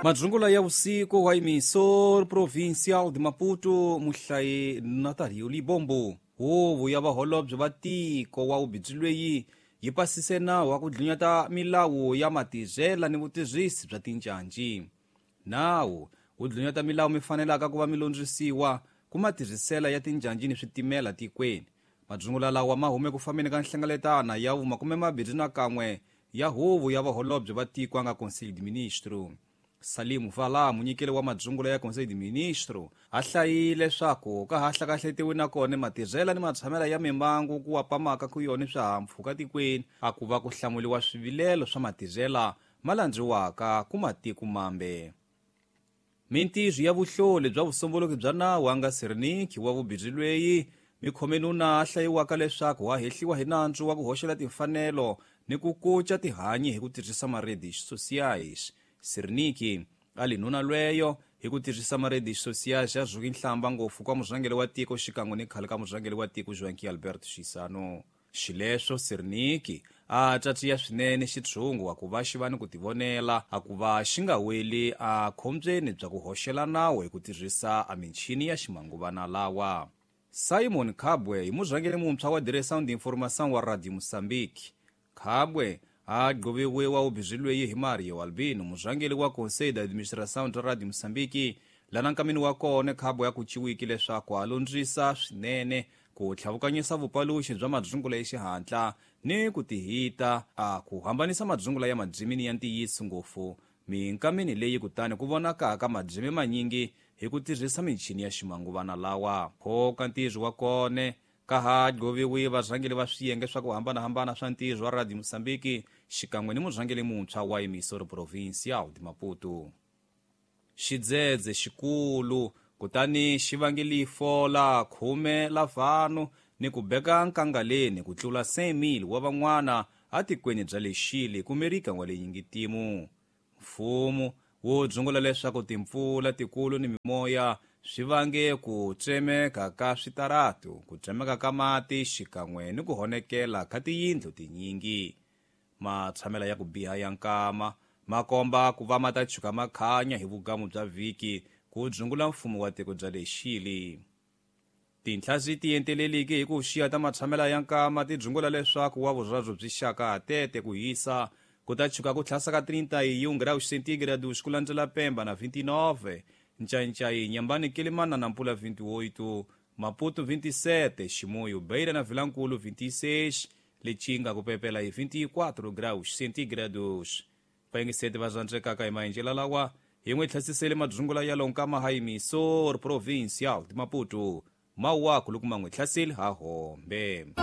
Madzungula ya usiku wa emissor provincial de Maputo muhlayi Natalio Libombo. Huvo ya vaholobye va tiko wa ubindzu leyi yi pasise nawu wa ku dlunyata milawu ya matirhela ni vutirhisi bya tincanci. Nawu wu dlunyata milawu mi fanelaka ku va mi londzisiwa ku matirhisela ya tinjanji ni switimela tikweni. Madzungula lawa ma hume ku fambeni ka nhlengeletana ya vu-21 ya huvo ya vaholobye va tiko a nga Conselho de Ministro. Salim Vala, munyikeli wa madzungula ya Conselho de Ministro, a hlayile leswaku ka ha hlakahletiwi na kona matirhela ni matshamela ya mimbangu ku apamaka ku yona swihahampfhuka tikweni, a ku va ku hlamuriwa swivilelo swa matirhela ma landziwaka ku matiko mambe. Mintirho ya vuhloli bya vusombuluki bya nawu a nga Sirniki wa vubindzu lweyi mikhomenuna a hlayiwaka leswaku wa hehliwa hi nandzu wa ku hoxela timfanelo ni ku kuca tihanyi hi ku tirhisa maredes sociais. Sirniki a li nuna lweyo hi ku tirhisa maredes sociais a zuki nhlamba ngopfu kwa murhangeri wa tiko xikan'we ni khale ka murhangeri wa tiko Joaquim Alberto Chissano. Xileswo Sirniki a tsatsiya swinene xitshungu wa ku va xi va ni ku tivonela a ku va xi nga weli a khombyeni bya ku hoxela nawu hi ku tirhisa a michini ya ximanguvana lawa. Simon Kabwe hi murhangeri muntshwa wa Direção de Informação wa Radio Moçambique. Kabwe a gqoviwe ubindzu lweyi hi Mario Albino, murhangeri wa Conselho de Administração bya Radio Moçambique, lana nkameni wa kona Kabwe a kuciwiki leswaku a londzisa swinene ku tlhavukanyisa vupaluxi bya madzungula ya xihatla ni ku tihita a ku hambanisa madzungula ya madzimini ya ntiyiso ngopfu minkameni leyi kutani ku vonakaka madzimi manyingi hi ku tirhisa michini ya ximanguvana lawa. Phoka ntirho wa kona ka ha gqoviwi varhangeri va swiyenge swa ku hambanahambana swa ntirho wa Radio Moçambique xikan'we ni murhangeri muntshwa wa emissor provincial de Maputo. Xidzedze xikulu kutani xi vange lifo la 10 la vanhu ni ku beka nkangaleni ku tlula 100,000 wa van'wana atikweni bya le Chile ku Amerika wa le Yingitimu. Mfumo wu dzungula leswaku timpfula tikulu ni mimoya swi vange ku tsemeka ka switaratu, ku tsemeka ka mati xikan'we ni ku honekela ka tiyindlu tinyingi. Matshamela ya ku biha ya nkama ma komba ku va ma ta chuka makhanya hi vugamu bya vhiki ku dzungula mfumo wa tiko bya le Chile. Tinhlazi ti enteleliki hi ku xiya ta matshamela ya nkama ti dzungula leswaku wa vurharu byi xaka tete ku hisa ku ta chuka ku tlhasa ka 31 graus centígrados ku landzela Pemba na 29, Ncaincayi, Nyambani, Kilimana na Nampula 28, Maputo 27, Chimoio, Beira na Vilankulu 26, Lichinga ku pepela hi 24 graus centígrados. Vayingiseti va zwandzekaka hi maendlelo lawa hi n'wi tlhasisele madzungula ya lonkama ha emissor provincial de Maputo. Mawaku loko ma n'wi hlaseli ha hombe.